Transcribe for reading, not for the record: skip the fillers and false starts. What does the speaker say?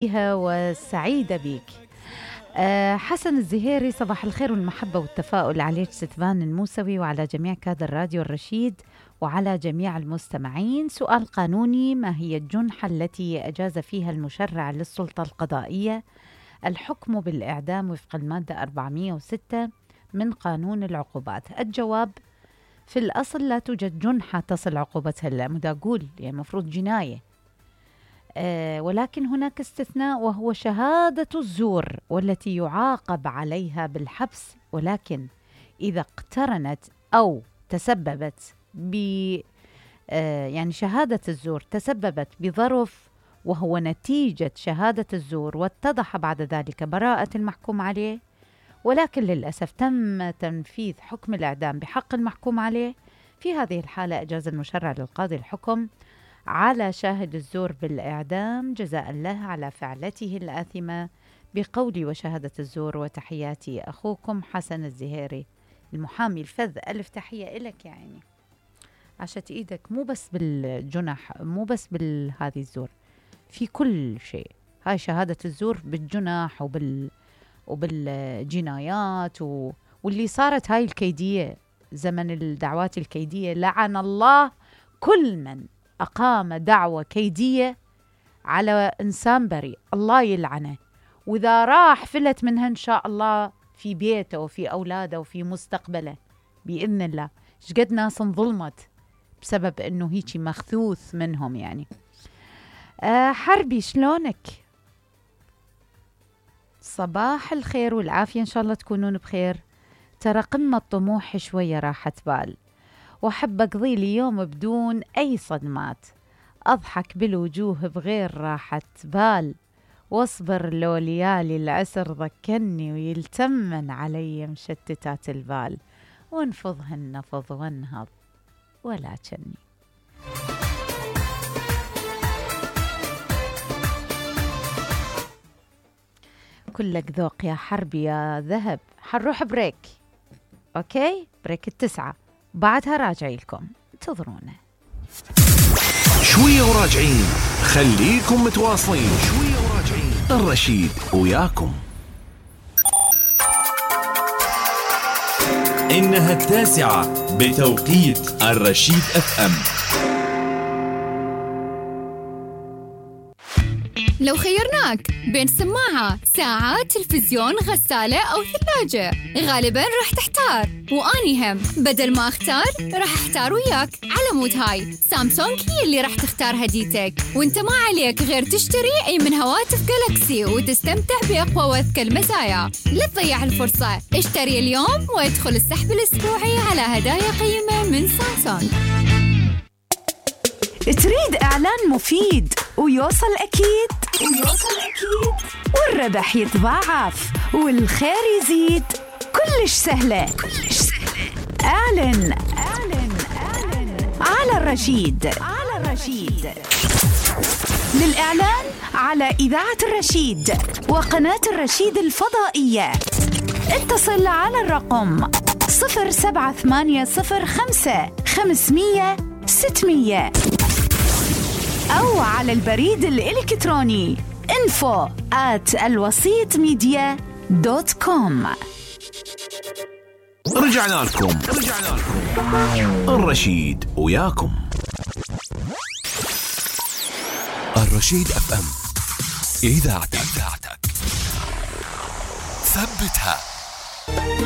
فيها وسعيدة بيك. حسن الزهيري، صباح الخير والمحبة والتفاؤل عليك ستفان الموسوي وعلى جميع كادر راديو الرشيد وعلى جميع المستمعين. سؤال قانوني: ما هي الجنحة التي أجاز فيها المشرع للسلطة القضائية الحكم بالإعدام وفق المادة 406 من قانون العقوبات؟ الجواب: في الأصل لا توجد جنحة تصل عقوبتها للمداقول، يعني مفروض جناية، ولكن هناك استثناء وهو شهادة الزور والتي يعاقب عليها بالحبس، ولكن إذا اقترنت أو تسببت يعني شهادة الزور تسببت بظرف وهو نتيجة شهادة الزور واتضح بعد ذلك براءة المحكوم عليه، ولكن للأسف تم تنفيذ حكم الإعدام بحق المحكوم عليه، في هذه الحالة أجاز المشرع للقاضي الحكم على شاهد الزور بالإعدام جزاء له على فعلته الآثمة بقولي وشهادة الزور. وتحياتي أخوكم حسن الزهيري المحامي الفذ. ألف تحية إلك يا عيني، عشت إيدك مو بس بالجنح، مو بس بالهذه الزور، في كل شيء. هاي شهادة الزور بالجنح وبالجنايات واللي صارت هاي الكيدية، زمن الدعوات الكيدية، لعن الله كل من أقام دعوة كيدية على إنسان بريء، الله يلعنه، وإذا راح فلت منها إن شاء الله في بيته وفي أولاده وفي مستقبله بإذن الله. شقد ناس انظلمت بسبب إنه هيجي مخثوث منهم يعني. حربي شلونك؟ صباح الخير والعافية، إن شاء الله تكونون بخير. ترى قمة طموح شوية راحة بال، وأحب أقضي لي يوم بدون أي صدمات، أضحك بالوجوه بغير راحة بال، واصبر لو ليالي العسر ذكرني ويلتمن علي مشتتات البال، وانفضهن نفض وانهض ولا كني. كلك ذوق يا حربي يا ذهب. حنروح بريك، أوكي؟ بريك 9، بعدها راجعي لكم، انتظرونا شوية وراجعين. خليكم متواصلين، شوية وراجعين. الرشيد وياكم. إنها 9 بتوقيت الرشيد FM. لو خيرناك بين سماعة، ساعة، تلفزيون، غسالة أو ثلاجة، غالباً راح تحتار، وأني هم بدل ما أختار راح أحتار وياك. على مود هاي سامسونج هي اللي راح تختار هديتك، وانت ما عليك غير تشتري أي من هواتف جالكسي وتستمتع بأقوى وأذكى المزايا. لا تضيع الفرصة، اشتري اليوم وادخل السحب الأسبوعي على هدايا قيمة من سامسونج. تريد إعلان مفيد ويوصل أكيد والربح يتضاعف والخير يزيد؟ كلش سهلة. اعلن على الرشيد. للإعلان على إذاعة الرشيد وقناة الرشيد الفضائية اتصل على الرقم 07805 أو على البريد الإلكتروني info@alwasitmedia.com. رجعنا لكم. الرشيد وياكم. الرشيد FM، إذاعتك. ثبتها.